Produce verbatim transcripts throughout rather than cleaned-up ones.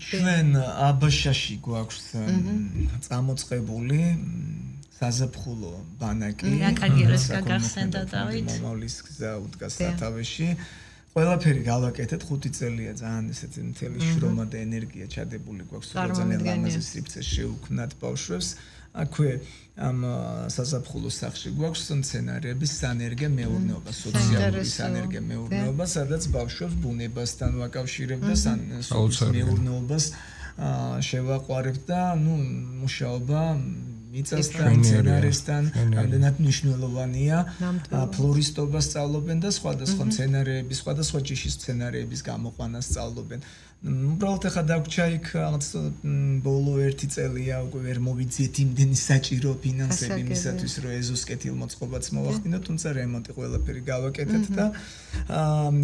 ჩვენ აბაშაში გვაქვს წამოწყებული საზაფხულო ბანაკი. რა კარგია ეს გაგახსენდა დავით. მომავლის გზა უდგას სათავეში. ყველაფერი გავაკეთეთ, ხუთი წელია ძალიან ესეთი მთელი შრომა და ენერგია ჩადებული გვაქვს, რომ ძალიან ლამაზი სივრცე შევქმნათ ბავშვებს. აქვე ამ საზაფხულო სახლში გვაქვს სცენარების სანერგე მეურნეობა, სოციალური სანერგე მეურნეობა, სადაც ბავშვებს ბუნებასთან ვაკავშირებ და სოციალურ მეურნეობას შევაყვარებ და ნუ მუშაობა მიწასთან, მცენარესთან, რამდენად მნიშვნელოვანია, ფლორისტობას სწავლობენ და სხვადასხვა მცენარეების, სხვადასხვა ჯიშის მცენარეების გამოყვანას სწავლობენ. უბრალოდ ახლა დაგვრჩა იქ რაღაც ბოლო ერთი წელია უკვე ვერ მოვიძიეთ იმდენი საჭირო ფინანსები იმისათვის, რომ ეზოს კეთილმოწყობაც მოვახდინოთ, თუმცა რემონტი ყველაფერი გავაკეთეთ და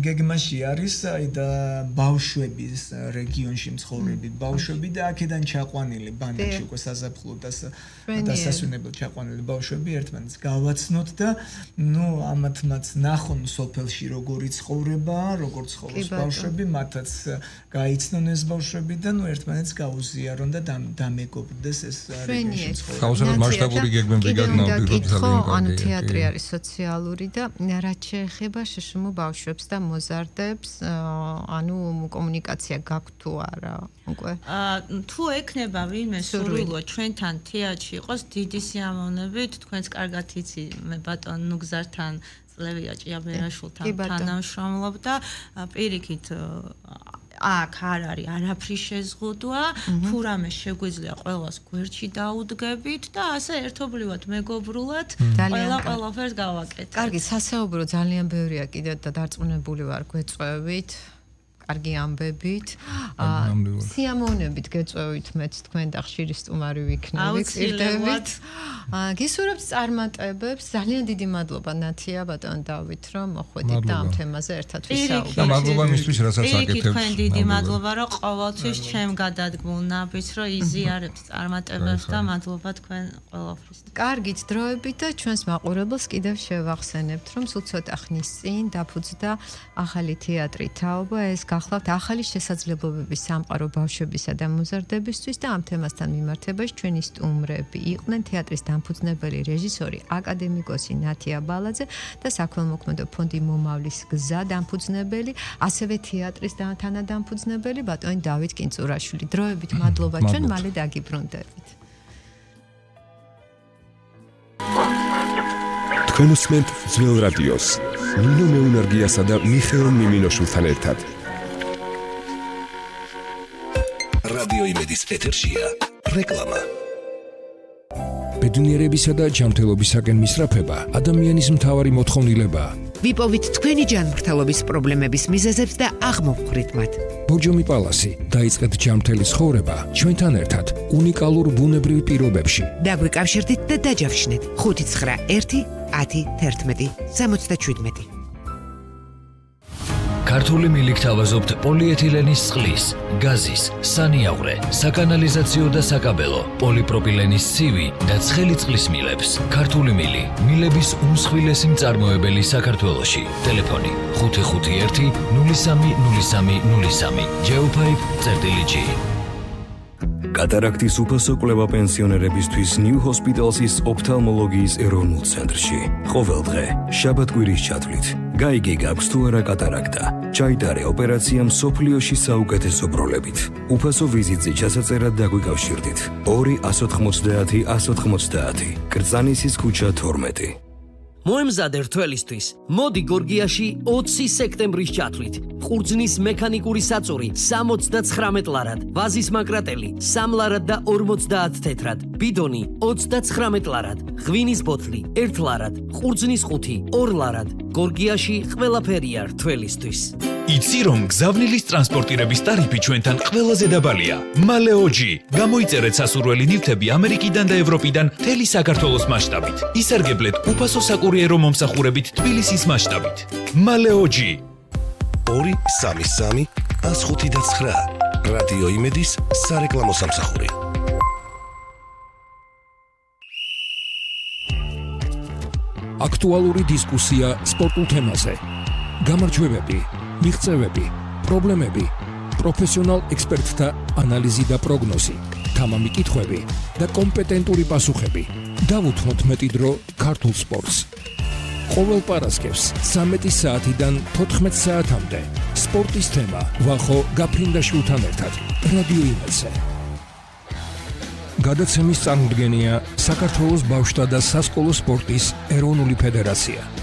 გეგმაში არის აი და ბავშვების რეგიონში მცხოვრები ბავშვები და აქედან ჩაყვანილი ბანაკში უკვე საზაფხულო და დასასვენებლად ჩაყვანილი ბავშვები ერთმანეთს გავაცნოთ და ნუ ამათმაც ნახონ სოფელში როგორი ცხოვრება, როგორ ცხოვრობს ბავშვები, მათაც გაიცნონ ეს ბავშვები და ნუ ერთმანეთს გაუზიარონ და დამეგობრდეს ეს რეგიონში ცხოვრება. გაუსაბად მასშტაბური გეგმები გაგნავდით ძალიან ანუ თეატრი არის სოციალური და რაც შეეხება შშმ ბავშვებს და მოზარდებს, ანუ კომუნიკაცია გაქვთ თუ არა უკვე? თუ ექნება ვინმე სურვილო ჩვენთან თეატრში იყოს დიდი სიამოვნებით, თქვენც კარგად იცი მე ბატონ ნუგზართან წლევია ჭიაბერაშვილთან თანამშრომლობ და პირიქით აქ არ არის არაფრის შეზღუდვა, თუ რამე შეგვიძლია ყველას გვერდში დაუდგებით და ასე ერთობლივად მეგობრულად ყველა ყველაფერს გავაკეთებთ. კარგი, სასაუბრო ძალიან ბევრია კიდევ და დარწმუნებული ვარ გვეწვევით. კარგი ამბებით. სიამოვნებით გეწვევით მეც თქვენ და ხშირი სტუმარი ვიქნებით. აუცილებლად. გისურვებთ წარმატებებს. ძალიან დიდი მადლობა ნათია ბატონ დავით რომ მოხვედით და ამ თემაზე ერთად ვისაუბრეთ. და მადლობა მისთვის რასაც აკეთებთ. თქვენ დიდი მადლობა რომ ყოველთვის ჩემ გადადგმულ ნაბიჯს რომ იზიარებთ წარმატებებს და მადლობა თქვენ ყველაფრის. კარგით დროებით და ჩვენს მაყურებელს კიდევ შევახსენებთ რომ სულ ცოტა ხნის წინ დაფუძნდა ახალი თეატრი თაობა ეს გახლავთ ახალი შესაძლებლობების სამყარო ბავშვებისა და მოზარდებისთვის და ამ თემასთან მიმართებაში ჩვენი სტუმრები იყვნენ თეატრის დამფუძნებელი რეჟისორი აკადემიკოსი ნათია ბალაძე და საქველმოქმედო ფონდი მომავლის გზა დამფუძნებელი, ასევე თეატრის თანადამფუძნებელი ბატონი დავით კინწურაშვილი. დროებით მადლობა ჩვენ მალე დაგიბრუნდებით. თქვენ უსმენთ ძველ რადიოს ნინო მეუნარგიასა და მიხეილ მიმინოშვილთან ერთად. რადიო იმედის ეთერშია რეკლამა. ბედნიერებისა და ჯანმრთელობისაკენ მისწრაფება ადამიანის მთავარი მოთხოვნილებაა. ვიპოვით თქვენი ჯანმრთელობის პრობლემების მიზეზებს და აღმოვხვრით მათ. ბოჯომი პალასი, დაიწყეთ ჯანმრთელი ცხოვრება ჩვენთან ერთად უნიკალურ ბუნებრივ პირობებში. დაგვიკავშირდით და დაჯავშნეთ ხუთი ცხრა ერთი ათი თერთმეტი სამოცდაშვიდმეტი. ქართული მილიქთ ავაზობთ პოლიეთილენის წყლის, გაზის, სანიაღვრე, საკანალიზაციო და საკაბელო, პოლიპროპილენის ცივი და ცხელი წყლის მილებს. ქართული მილი, მილების უმსხვილესი მწარმოებელი საქართველოში. ტელეფონი ხუთი ხუთი ერთი ნული სამი ნული სამი ნული სამი. ჯეოფაიფ წერტილი ჯი. კატარაქტის უფასო კვლევა პენსიონერებისთვის ნიუ ჰოსპიტალსის ოფთალმოლოგიის ეროვნულ ცენტრში. ყოველ დღე შაბათ-კვირის ჩათვლით. გაიგე გაქვს თუ არა კატარაქტა. ჩაიტარე ოპერაცია მსოფლიოში საუკეთესო ბროლებით. უფასო ვიზიტზე ჩასაწერად დაგვიკავშირდით. ორი ათი ოცდაათი ათი ოცდაათი. კრწანისის ქუჩა თორმეტი. მოემზადე რთველისთვის. მოდი გორგიაში ოცი სექტემბრის ჩათვლით. ყურძნის მექანიკური საწური სამოცდაცხრამეტ ლარად, ვაზის მაკრატელი სამ ლარად და ორმოცდაათ თეთრად, ბიდონი ოცდაცხრამეტ ლარად, ღვინის ბოთლი ერთ ლარად, ყურძნის ყუთი ორ ლარად. გორგიაში ყველაფერია რთველისთვის. იცი რომ გზავნილის ტრანსპორტირების ტარიფი ჩვენთან ყველაზე დაბალია. მალეოჯი. გამოიწერეთ სასურველი ნივთები ამერიკიდან და ევროპიდან მთელი საქართველოს მასშტაბით. ისარგებლეთ უფასო საკურიერო მომსახურებით თბილისის მასშტაბით. მალეოჯი. ორი სამი სამი ათს ხუთი და ცხრა. რადიო იმედის სარეკლამო სამსახური. აქტუალური დისკუსია სპორტულ თემაზე. გამარჯვებები, მიღწევები, პრობლემები, პროფესიონალ ექსპერტთა ანალიზი და პროგნოზი, თამამი კითხვები და კომპეტენტური პასუხები. დავუთმოთ მეტი დრო ქართულ სპორტს. ყოველ პარასკევს ცამეტი საათიდან თოთხმეტ საათამდე სპორტის თემა ვახო გაფრინდაშვილთან ერთად რადიო იმედზე. გადაცემის წარმოდგენია საქართველოს ბავშვთა და სასკოლო სპორტის ეროვნული ფედერაცია.